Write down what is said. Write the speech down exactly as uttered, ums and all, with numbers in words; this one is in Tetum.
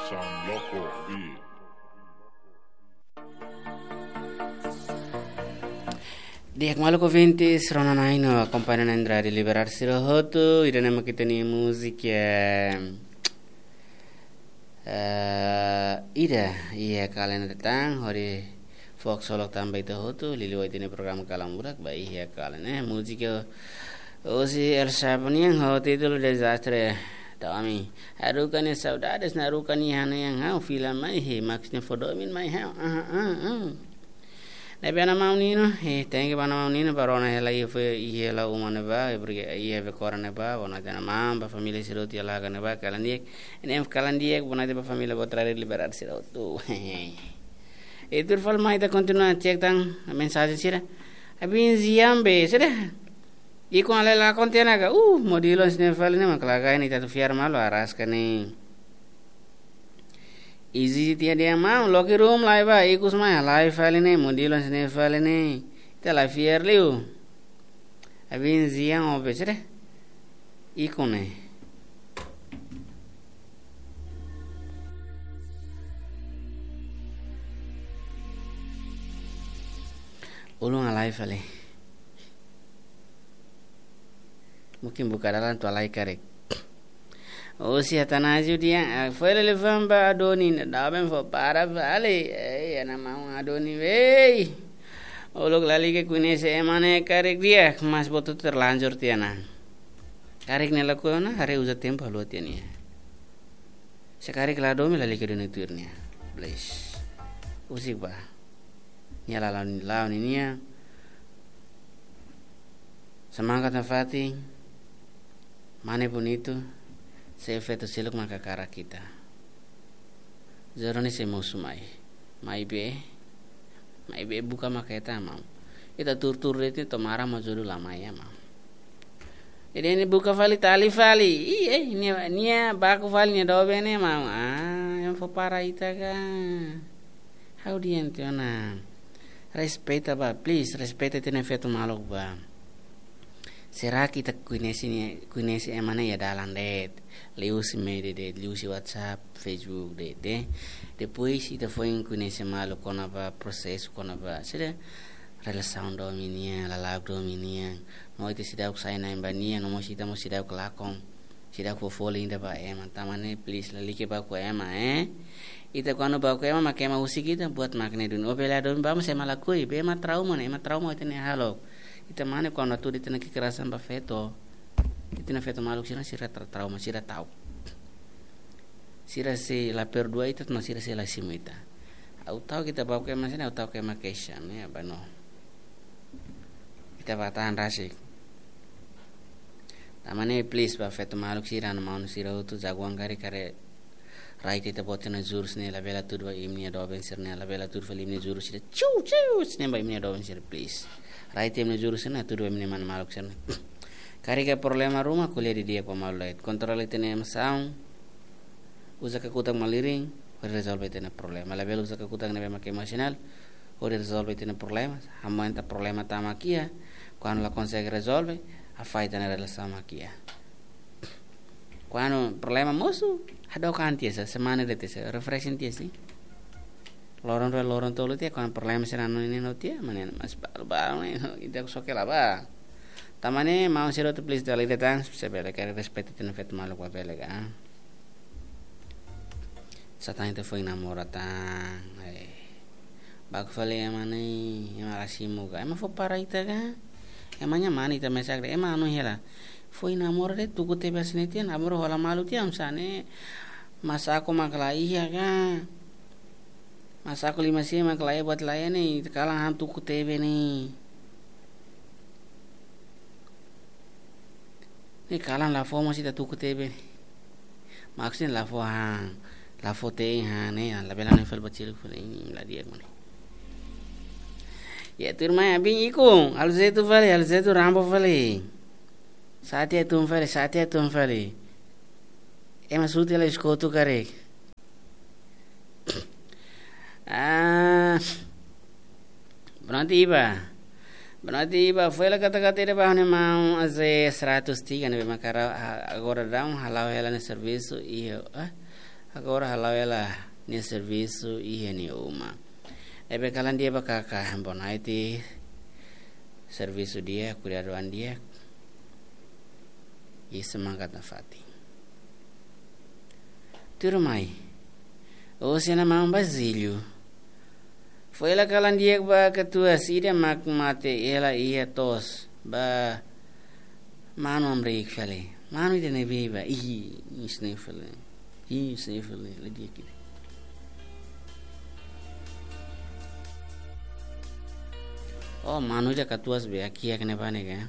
Sound Loco Beat. Di'ak maluk ouvintes, rona-na'in no akompaña na'in rádiu Liberdade sira hotu, ida-ne'e mak ita-nia múzika, eh, ida iha kala ne'e tan, hodi fó haksolok tan ba ita hotu, liuliu ita-nia programa Kalan Bulak ba iha kala ne'e. Múzika husi El Chapo nian ho títulu Dezastre. Tau ami. Haruka nia saudades, haruka nia hanoin ha'u, fila mai, he, Max nia fó domin mai ha'u. Ah, ah, ah. Ne'ebé, mana maun Nino, eh, thank you mana maun Nino, ba rona hela iha, iha hela uma ne'ebá, eh, porque iha Becora ne'ebá, boa noite mana maun, ba família sira hotu iha Laga ne'ebá, kalan di'ak, ne'e kalan di'ak, boa noite ba família boot rádiu Liberdade sira hotu. I tuir fali mai ita kontinua cek tan mensajen sira. Abin ziambe, sira. Ikun ale lakon tiha ona ka, uh, modelo sira-ne'e fali ne'e mak lagai ne'e ita atu fiar malu araska ne'e. Izi tiha de'it maun, loke rum lai ba, ikus mai, lai fali ne'e, modelo sira-ne'e fali ne'e. Ita la fiar liu. Abin zian obe sira. Ikun ne'e. Ulun halai fali. Mungkin buka dalan atu halai karik. Husi Atanásio dehan, ah, foin lele famba Adoni, ne'e doben fó para fali. Eh, iha ne'e maun Adoni, wei. Uluk lalika koñese ema ne'e karik di'ak, mas boot terlanjur tiha ona. Karik ne'e lakohi ona, haree uza tempu haluha tiha nia. Se karik la domin lalika duni tuir nia. Please. Husik ba. Nia lalau, lalau ninia. Semangat nafatin. Mane bonitu. Se feto seluk maka hakarak ita. Jodoh ne'e sei mosu mai. Maibé. Maibé buka maka hetan maun. Ita tuur-tuur de'it to'o maran mak jodoh la mai ya maun. Jadi ne'e buka fali tali fali. Ih, eh, nia, nia baku fali nia doben ne'e maun. Ah, ema fó para ita ka. Ha'u dehan tiha ona. Respeita ba, please, respeita ita-nia feto maluk ba. Será que ita koñese nia, koñese ema ne'e iha dalan de'it, liuhusi média de'it, liuhusi WhatsApp, Facebook de'it, eh? Depois ita foin koñese malu kona-ba prosesu, kona-ba, sira relasaun domin nian, lala'ok domin nian. No ita seidauk sai na'in ba nia, no mós ita mós seidauk lakon. Seidauk fó folin ida ba ema, tanba ne'e please lalika baku ema, eh. Ita kuandu baku ema, mak ema husik ita, buat mak ne'e duni. Ó bele domin ba, mas ema lakohi, be ema trauma ne'e, ema trauma ita-nia hahalok. Ita mane kuandu atu ita-nia kekerasan ba feto. Ita-nia feto maluk sira, sira tra-, trauma, sira ta'uk. Sira sei la perdua ita, mas sira sei la simu ita. Ha'u ta'uk ita baku ema sira, ha'u ta'uk ema keixa, ne'e, ba no. Ita bá tahan rasik. Tanba ne'e please ba feto maluk sira no maun sira hotu, jagoan karik haree rai ita-boot ita-nia jurus ne'e, labele hatudu ba imi-nia doben sira ne'e, labele hatudu fali imi-nia jurus sira. Ciu, ciu, sira ne'e ba imi-nia doben sira, please. Rai ita imi-nia jurus ne'e, hatudu ba imi-nia mane maluk sira ne'e. Karik iha problema ruma, ko'alia didi'ak ba malu lai. Kontrola ita-nia emosaun. Uza kakutak malirin, hodi rezolve ita-nia problema. Labele uza kakutak ne'ebé mak emosionál, hodi rezolve ita-nia problema. Hamoenta problema tama mak iha, kuandu la konsege rezolve, afasta ita-nia relasaun mak iha. Kuandu problema mosu, hadook an tiha sa, semana de'it sa, refreshing tiha sa. Loron rua, loron tolu tiha, kuandu problema sira-ne'e no tiha, mane mas balu-balu ne'e, ita soke la ba. Tanba ne'e, maun sira hotu please, dala ida tan, se bele karik respeita ita-nia feto maluk ba bele ka. Sá tan ita foin namora tan. Eh. Baku fali ema ne'e, ema la simu ka. Ema fó para ita ka. Ema nia mane ita mesak de'it, ema anu hela. Foin namora de'it tuku T V hanesan ne'e tiha, namora hola malu tiha, hanesan ne'e. Masaku mak la iha ka. Masaku lima sia mak la iha buat la iha ne'e, ita kalan han tuku T V ne'e. Ne'e kalan la fó mós ita tuku T V. Maksudnya la fó han, la fó te'in han ne'e, labele han fali ba cil fali ne'e, la di'ak mane. Ya, tuirmai abin ikun, halo zaitu fali, halo zaitu Rambo fali. Sate tun fali, sate tun fali. Ema suti la iskotu karik. Ah, boa noite, Iba. Boa noite, Iba. Foin la kata-kata ida ba ha'u-nia maun Aze seratus tiga ne'ebé mak ha'u, ha-, agora daudaun hala'o hela nia servisu iha, eh? Agora hala'o ela nia servisu iha nia uma. Ne'ebé kalan di'ak ba kaka, bonaiti servisu di'ak, kuidadu an di'ak, i semangat nafatin. Tuirmai, osan maun Basílio fó hela kalan di'ak ba katuas ida mak mate hela iha to'os ba manu hamriik fali. Manu ida ne'ebé ba, ih, sniffle. Ih, sniffle, la di'ak ida. Oh, manu ida katuas be, akiak ne'ebá ne'e ka.